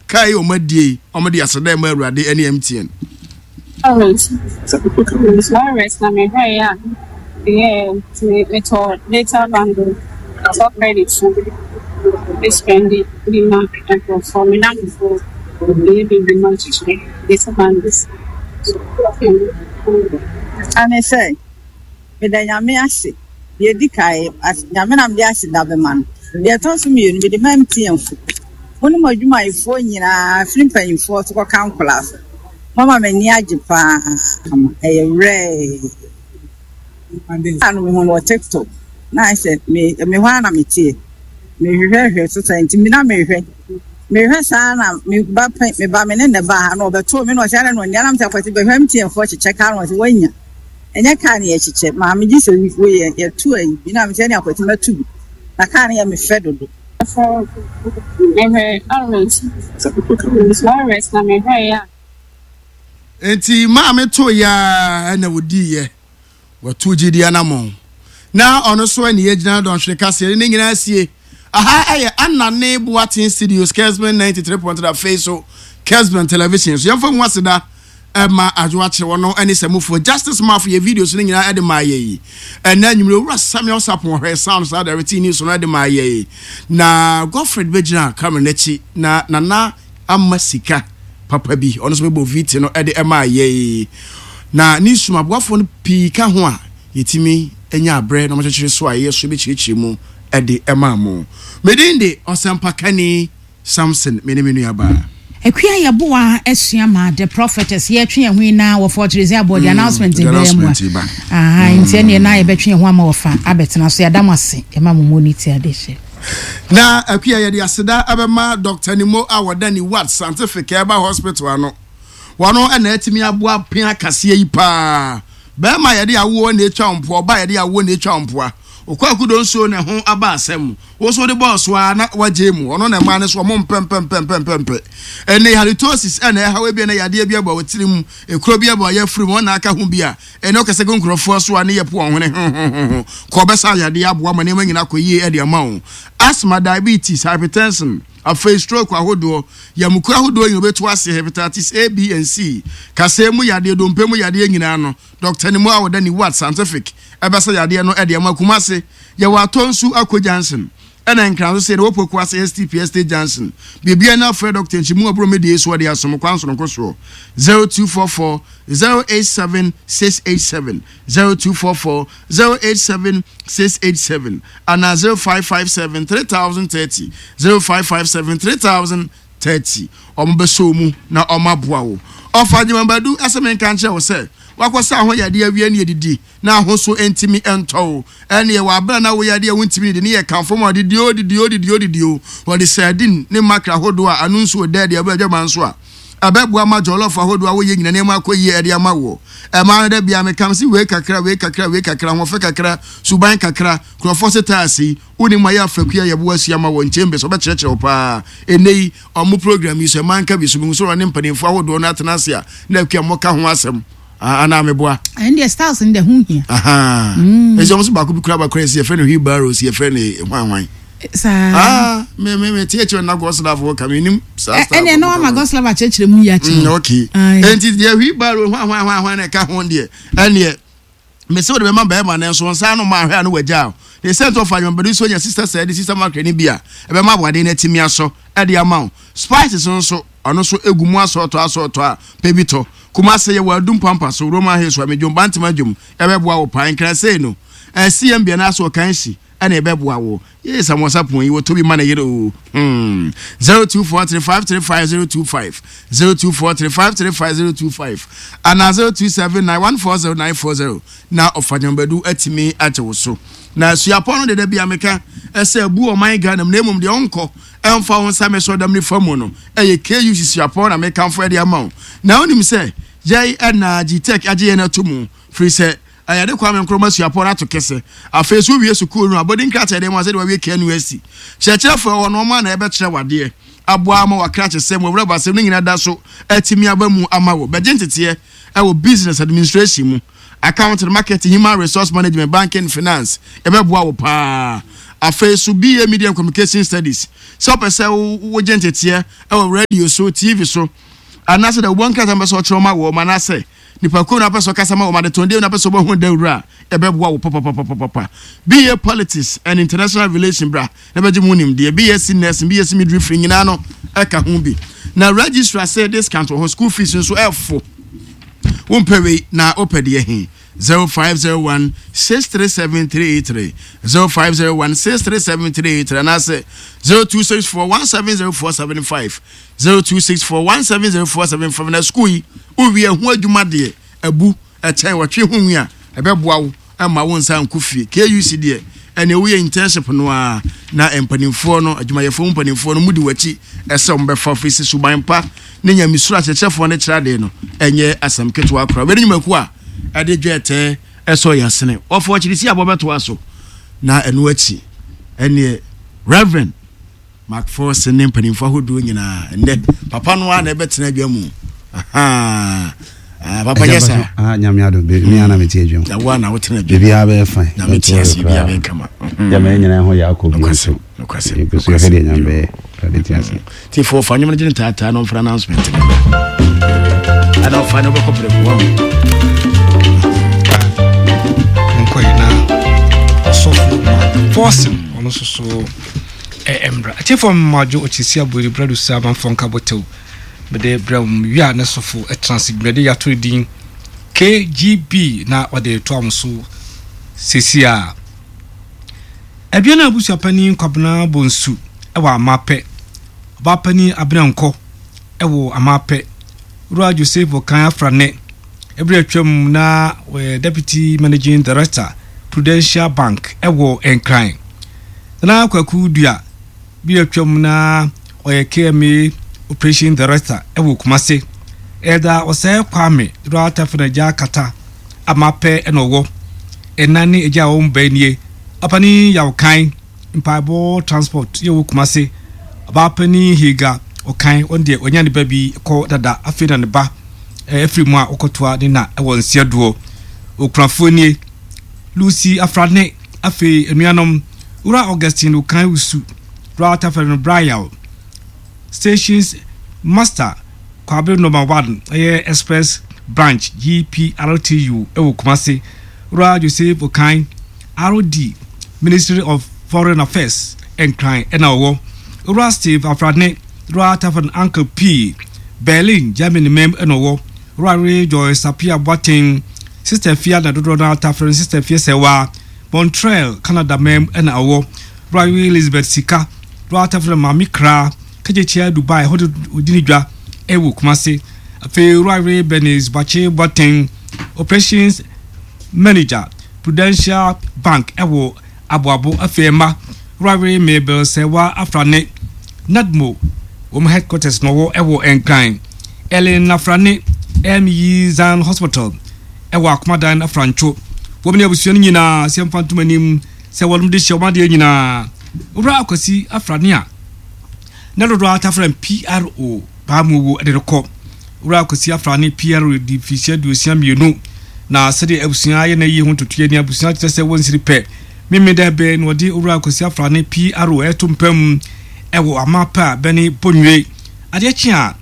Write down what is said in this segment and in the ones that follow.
Kaa yi wɔn adie yi, wɔn de aseda ɛma Awurade ɛne MTN. Lawrence Lawrence na mehwɛeɛ a meyɛɛ nti metɔɔ data bundle metɔ credit so me spɛnde bi ma nkurɔfoɔ me nnamfofoɔ meyɛ bi ma kyekyere data bundles so. Ɛne sɛ, Meda Nyame ase. Deɛ ɛdi kan, Nyame na mede aseda bɛma no. Deɛ ɛtɔ so mmienu, mede ma MTN fo. Mo ne mo adwumayɛfoɔ nyinaa, firi mpanyinfoɔ so kɔka nkwadaa so. Moama m'ani agye paa. Ɛyɛ werɛɛ. A no mehu no wɔ TikTok. Na ayɛ sɛ me me hɔ ara na meteɛ. Mehwehwɛhwɛ so saa nti na mehwɛ. Mehwɛ saa na me ba pɛ me ba me ne ne ba ha na ɔbɛtoo me na ɔsɛ adɛn na ɔnni anam sɛ akwasi bɛhwɛ MTN foɔ kyekyɛ kaa na ɔsɛ wanya. Ɛnyɛ kaa ne yɛkyekyɛ maame gye sɛ wei yɛ yɛto ayi bi na mesɛ ne akwasi mɛto bi na kaa no yɛ me fɛ dodo. Mehwɛ Lawrence Lawrence na mehwɛeɛ a. Enti maame toeɛ ara na ɔdiiɛ. Watu gyidie anammɔn. Na ɔno so ɛne yɛgyina dɔnhwere kaseɛ ne ne nyinaa sie. Aha ɛyɛ Anane Boateng Studios, Kesben 93.3 afei so Kesben Television so. Yɛmfa mu aseda ɛma Adwo Akyere wɔno ɛne Samufoɔ Justice Mafo yɛ videos no nyinaa ɛde maa yɛ yi. Ɛnɛ anwummerɛ Owura Samuel Sapon ɔhwɛ sound saa directing news no ɛde maa yɛ yi. Na Godfred bɛgyina camera n'akyi na Nana ama sika papa bi, ɔno nso bɛbɔ VT no de maa yɛn. Na ne sum aboafoɔ no pii ka ho a yɛtumi nya aberɛ na wɔkyekyere so a yɛyɛ so bɛkyerɛkyerɛ mu de maa mo. Me din de Ɔsɛmpakani Samson, me ne me nuabaa. Akua Yeboah asua ma The Prophetess yɛtwe yɛn ho yi na wɔfa ɔkyerɛdzi abɔ the announcement bɛyɛ mu a aha nti ɛneɛ na yɛbɛtwe yɛn ho ama wɔfa abɛtena so yɛada mo ase yɛma mo mo ne ti ade hyɛ. Na Akua yɛde aseda bɛma Doctor Nimo a wɔda ne Wat Scientific Herbal Hospital ano. Wɔno na atumi aboa pea kaseɛ yi paa. Bɛrima yɛde awoɔ na ɛtwa wo mpoa, ɔbaa yɛde awoɔ na ɛtwa wo mpoa. Okwaku Donsuo na ɛho aba asɛm. Wo nso wode bɔɔ so ara na wagye mu. Ɔno na mmaa no so ɔmo mpɛmpɛmpɛmpɛmpɛ. Ɛnɛ halitosis ɛna ɛhaw ebia na yadeɛ bi aba wɔ tirim, ekuro bi aba ɔyafuru mu, ɔna aka ho bi a Ɛnna ɔkasa gu nkurɔfoɔ so a ne yɛ po wɔn hwene hohohoho. Kɔ bɛsa yadeɛ aboa ma nneɛma nyinaa akɔ yie de ama wo. Asthma, diabetes, hypertension, afei stroke ahodoɔ, yamukuo ahodoɔ nyinaa wobɛtu aseɛ, hepatitis A, B and C, kasɛɛ mu yadeɛ, dompe mu yadeɛ nyinaa no, Dɔkta Nimmo a ɔda Niwat Scientific bɛsa yadeɛ no de ama. Kumase, yɛwɔ Atonsu Ako Junction. Ɛna Nkran nso sei na wɔ Poku ase STP Estate Junction. Biribiara ni afrɛ Dɔkta Nkyemu Aburo Medie so ɔde asom kwan sononko soɔ. 0244 087 687, 0244 087 687 anaa 0557 3030, 0557 3030. Wɔn bɛsɔ wo mu na wɔn aboa wo. Ɔfa Agyeman Badu ɛsɛ menka nkyerɛ wo sɛ wakɔsa ho yadeɛ awie ne adidi na ahosuo ntumi ntɔ wo. Ɛnneɛ wɔ aberɛ a na woyɛ adeɛ a wontumi nnidi ne yɛ kamfo ma wɔde dio didi o didi o didi o. Wɔde sardine ne mackerel ahodoɔ a ano nsuo dɛ de abɔ adwaman so a ɛbɛboa ma jollof ahodoɔ a woyɛ nyina nneɛma akɔ yie de ama woɔ. Ɛmaa no da biara meka mese wei kakra wei kakra wei kakra ahoɔfɛ kakra suban kakra nkurɔfoɔ se taase yi wonim ayɛ afakua yɛboa asua ma wɔn chambers wɔbɛkyerɛkyerɛ wo paa ɛnnɛ yi ɔmo program yi so ɛma nka bi so mehu sɛ ɔne mpanimfoɔ ahodoɔ no atena ase a na akua mmɔka ho asɛm. Ah, anaa meboa. Ɛn deɛ styles no deɛ ho hia. Ɛsɛ wɔn so baako bi kura baako yɛ yɛfrɛ no wheelbarrow si yɛfrɛ no hwan hwan. Saa. Ah, me me me tie kyerɛ na goslav wɔ ka me nim saa style. Ɛnna ɛna wama goslav akyerɛkyerɛ mu yi akyerɛ. Mm, okay. Enti deɛ wheelbarrow hwan hwan hwan hwan na ɛka ho deɛ ɛnneɛ mese wode bɛma bɛrima no nso nsa ano ma ahwɛ a no wagya o ne sɛ nti ɔfa adwuma bɛde so nya sister sɛ de sister makra no bi a ɛbɛma aboaden no atumi asɔ ɛde ama wo spices nso ɔno nso egu mu asɔɔtɔ asɔɔtɔ a pɛ bi tɔ Kumase yɛwɔ Adum Pampa so, Roman Hills wɔ Amedwom, Bantama Dwom, ɛbɛboa wo paa. Nkran sei no, eh, CMB anaasɛ Ɔkanhyi ɛna ɛbɛboa wo. Yee, Samuel Sapon yi, wɔtɔ bi ma ne yere o. Hmm. 0243 535 025, 0243 535 025, anaa 0279 140 940 na Ɔfagyambadu atumi agye wo so. Na suapɔn no deda bi a meka ɛsɛ abu ɔman Ghana mu na mmom deɛ ɔnkɔ ɛmfa wo nsa mɛsɔ dam nifa mu no ɛyɛ KUC suapɔn na mekamfo ɛde ama wo. Na wonim sɛ yɛn ɛna GTEC agye yɛn ato mu firi sɛ ɛyɛde Kwame Nkrumah suapɔn no ato kɛsɛ. Afei so wowie sukuu no a abɔdin krataa ɛde ma sɛdeɛ wawie KNUST. Kyerɛkyerɛfoɔ ɛwɔ no wɔn a na ɛbɛkyerɛ wadeɛ aboa ama wakrakyesɛm wawurabasɛm ne nyinaa da so atumi aba mu ama wo. Bɛgye nteteɛ ɛwɔ business administration mu. Accounting, Marketing, Human Resource Management, Banking, Finance, ɛbɛboa wo paa. Afei so BA Media and Communication Studies, sɛ wopɛ sɛ wogye nteteɛ wɔ radio so, TV so, anaasɛ dɛ wobɔ nkrataa mpɛ sɛ ɔkyerɛw ma wɔn anaasɛ nipakuo na wopɛ sɛ ɔkasa ma wɔn adetɔndeɛ na wopɛ sɛ wobɛhu dawuro a, ɛbɛboa wo papapapapapa. BA Politics and International Relation bra na bɛgye mu nimdeɛ. BSc Nursing, BSc Midwifery nyinaa no ɛka ho bi. Na registrar sɛ discount wɔ hɔ, school fees nso ɛfo. Wompɛ wei na wopɛ deɛ he? 0501 637 383 0501 637 383 anaasɛ 0264 170475 0264 170475 na sukuu yi wowie ɛho adwuma deɛ abu ɛkyɛn wɔtwe ho nwi a ɛbɛboa wo ɛma wo nsa nkɔ fie KUC deɛ ɛne woyɛ internship no a na mpanimfoɔ no adwumayɛfoɔ mu mpanimfoɔ no mudi w'akyi ɛsɛ wɔn bɛfa firi sɛ suban pa ne nyamesuro akyerɛkyerɛfoɔ no kyerɛ adeɛ no ɛnyɛ asɛm ketewa koraa wei ne nnwumakuo a ɛde dwɛɛtɛɛ ɛsɔ yɛ asene wɔfɔ akyiri si abɔ bɛtoa so na ɛno akyi ɛneɛ Reverend Macpherson ne mpanimfoɔ ahodoɔ nyinaa ɛnɛ papa no ara na ɛbɛtena adwa mu ah, papa nyɛ saa ah, nyame adom me ana mete adwa mu na wo ana wotena adwa mu biribiara bɛyɛ fine nyame te ase biribiara bɛyɛ kama gyama yɛn nyinaa ho yɛ akɔ bio nso yɛgu so yɛhwɛ deɛ nyame bɛyɛ awurade te ase nti fo fa nwom no gyene taataa na ɔmfra announcement no bra ana ɔfa ne wobɛkɔ prɛkoa mu nkɔyɛ na ɔsɔfo fɔɔsen ɔno nso so ɛmmra atiefo mmadwo ɔkyesi aboeri brado sa amanfoɔ nka bɔtɛw mede brɛ wɔn wie a ne sɔfo ɛtena ase dwumadi yɛato din KGB na ɔde to am so sesi a Aduana abusuapanin Kwabena Bonsu wɔ Amapɛ, Ɔbaapanin Abena Nkɔ wɔ Amapɛ, Wura Joseph Okan Afrane, bere a atwam na ɔyɛ Deputy Managing Director, Prudential Bank wɔ Nkran. Nana Kwaku Dua, bere a atwam na ɔyɛ KMA Operation Director wɔ Kumase. Elder Osei Kwame, Wura Tafena Agya Kata, Amapɛ na ɔwɔ. Ɛna ne agya a wɔn ba nie. Ɔpanin Yaw Kan, Mpaebɔ Transport yɛ wɔ Kumase. Ɔbaa panin Hilga Ɔkan, ɔno deɛ wanya ne ba bi kɔ dada, afei na ne ba afiri mu a ɔkɔtoa ne na wɔ Nseɛdoɔ. Okunafoɔ nie, Lucy Afrane, afei anuanom, Wura Augustine Okan Wusu, Wura Tafɛre no Bra Yaw, Stations Master Kwabre Nɔma One ɛyɛ Express Branch GPRTU wɔ Kumasi, Wura Joseph Okan, RD, Ministry of Foreign Affairs, Nkran na ɔwɔ, Wura Steve Afrane, Wura Tafan Uncle P, Berlin, Germany mam na ɔwɔ, Wura Ray Joyce Appiah Boateng, Sister Afia na dodoɔ no ara tafere no Sister Afia Sɛwa, Montreal, Canada mam na ɔwɔ, Wura Ray Elizabeth Sika, Wura Tafere Maame Kra, Kagyekyia Dubai hɔ de ɔdi ne dwa wɔ Kumasi. Afei Owura Ray Bernice Boakye Boateng, Operations Manager, Prudential Bank wɔ Aboabo. Afei mma Owura Ray Mabel Serwaa Afrane, NADMO, wɔn headquarters na ɔwɔ wɔ Nkran. Ellen Afrane, ME Zion Hospital wɔ Akomadan Afrantwo. Wɔn ne abusua no nyinaa sɛ mfa ntom anim sɛ wɔnom de hyɛ wɔn adeɛ nyinaa. Owura Akwasi Afrane a na dodoɔ ara taa frɛ no PRO Paamuwo de no kɔ. Owura Akwasi Afrane PRO di mfirihyia 62 na sɛdeɛ abusua ayɛ n'ayie ho ntotoeɛ ni, abusua kyerɛ sɛ wɔnsiri pɛ. Memeneda bɛn na wɔde Owura Akwasi Afrane PRO reto mpa mu wɔ Amapɛ a bɛne Bonwire. Adeɛ kye a,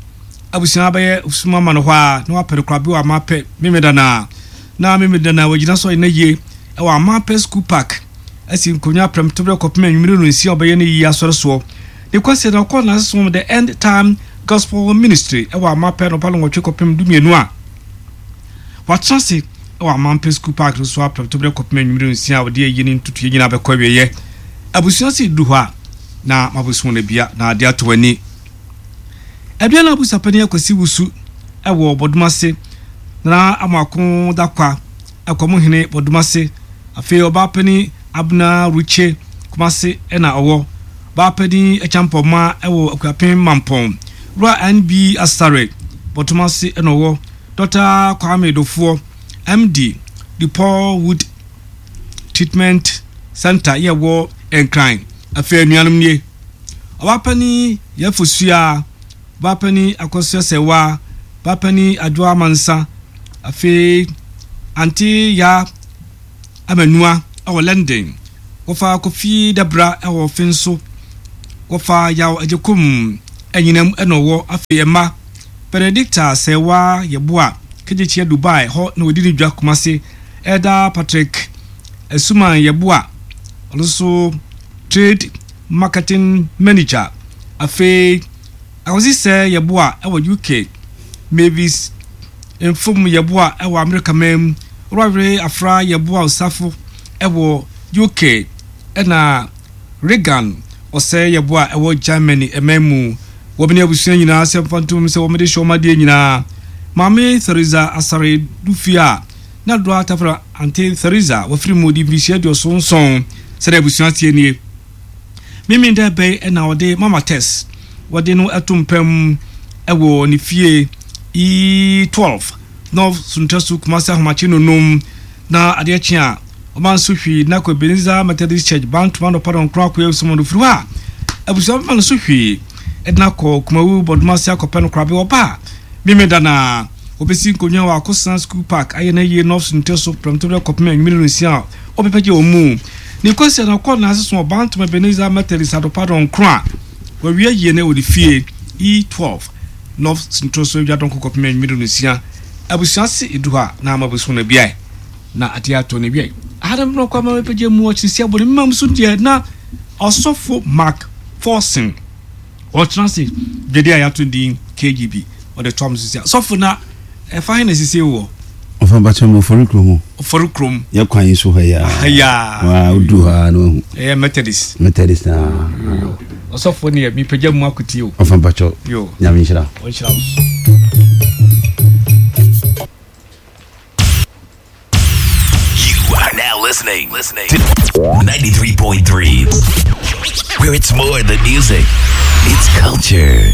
abusua bɛyɛ sum ama no hɔ ara na wapɛ no korabea wɔ Amapɛ Memeneda no ara. Na Memeneda no ara wagyina so ayɛ n'ayie wɔ Amapɛ School Park. asi nkonnwa prɛmtoberɛ kɔpem anwummere nnɔnsia a ɔbɛyɛ no yie asɔre soɔ. Ne Kwasida no ɔkɔɔ n'asesom The End Time Gospel Ministry wɔ Amapɛ anɔpa nnɔnwɔtwe kɔpem dumienu a watena ase wɔ Amampɛ School Park no so a prɛmtoberɛ kɔpem anwummere nnɔnsia a ɔde ayie ne ntotoeɛ nyinaa bɛkɔ awieɛ. Abusua se duru hɔ a na mabosom no abia na ade atɔ w'ani. Aduana Abusuapanin Akwasi Wusu wɔ Bɔdomase, Nana Amoako Dakwa Akwamuhene Bɔdomase, Afei ɔbaapanin Abner Ruche, Kumase na ɔwɔ. Ɔbaapanin Acheampong-Mah wɔ Akuapem Mampong. Wura NB Asare, Bɔtomase na ɔwɔ. Dɔkta Kwame Dofoɔ, MD, DePaul Wood Treatment Centre yɛ wɔ Nkran. Afei anuanom nie, Ɔbaapanin Yɛfosua, Ɔbaapanin Akosua Sɛwa, Ɔbaapanin Adwoa Amansa, afei Ante Yaa Amanua wɔ London. Wɔfa Kofi Dabra wɔ Finso. Wɔfa Yaw Agyekum Anyinam na ɔwɔ. Afei ɛma Benedicta Sɛɛwa Yeboah Kegyekyea Dubai hɔ na ɔdi ne dwa Kumasi. Elder Patrick Asuman Yeboah ɔno nso Trade Marketing Manager. Afei Akwasi Sɛ Yeboah wɔ UK. Mavis Mfom Yeboah wɔ Amerika man mu. Owura Afra Yeboah Osafo wɔ UK ɛna Reagan Ɔsɛe Yeboah ɛwɔ Germany man mu. Wɔn ne abusua nyinaa sɛ mfa ntom sɛ wɔde hyɛ wɔn adeɛ nyinaa. Maame Theresa Asare Dufie a na doa tafra Ante Theresa wafiri mu di mfirihyia aduɔson nson sɛdeɛ abusua teɛ nie. Memenda bɛn na ɔde Mama Tess wɔde no to mpa mu wɔ ne fie E12 North Suntasu Kumasi Ahomakye nonum na adeɛ kye a ɔma nso hwii na kɔ Ebenezer Methodist Church Bantoma anɔpa dɔnkron akɔyɛ nsɛm no firi hɔ a abusua bɛma no so hwii ɛde no akɔ Kumawu Bɔdomase akɔpɛ no korabe ɔba a Memenda na wɔbɛsi nkonnwa wɔ Akosena School Park ayɛ no ayie North Suntasu prɛmtoberɛ kɔpem anwummere nonsia a ɔbɛpɛgye wɔn mu. Ne kwasia na ɔkɔ n'ase so Ɔbantoma Ebenezer Methodist Adopa dɔnkron a wɔawie ayie no wɔ ne fie E12 North Suntasu Adwa dɔnko kɔpem anwummere nonsia. Abusua se edu hɔ a na ama abusua no abiae na adeɛ atɔ no awiei. Aha na mekɔ ama mɛpɛgya mu ɔkyerɛsi abɔ ne mma mu so deɛ na ɔsɔfo Mark Forson ɔtena ase dwadi a yɛato din KGB ɔde toa me so sia. Sɔfo na ɛfa he na sisi wɔ? Ɔfa bakyɛ mu ɔfɔre kurom. Ɔfɔre kurom. Yɛ kwan yi so ha yi a. Ha yi a. Wa odu ha na wahu. Ɛyɛ Methodist. Methodist na. Ɔsɔfo ne yɛ mepagya mu akotie o. Ɔfa bakyɛ. Yo. Nyame nhyira. Ɔnhyira wo. You are now listening, listening to 93.3, where it's more than music, it's culture.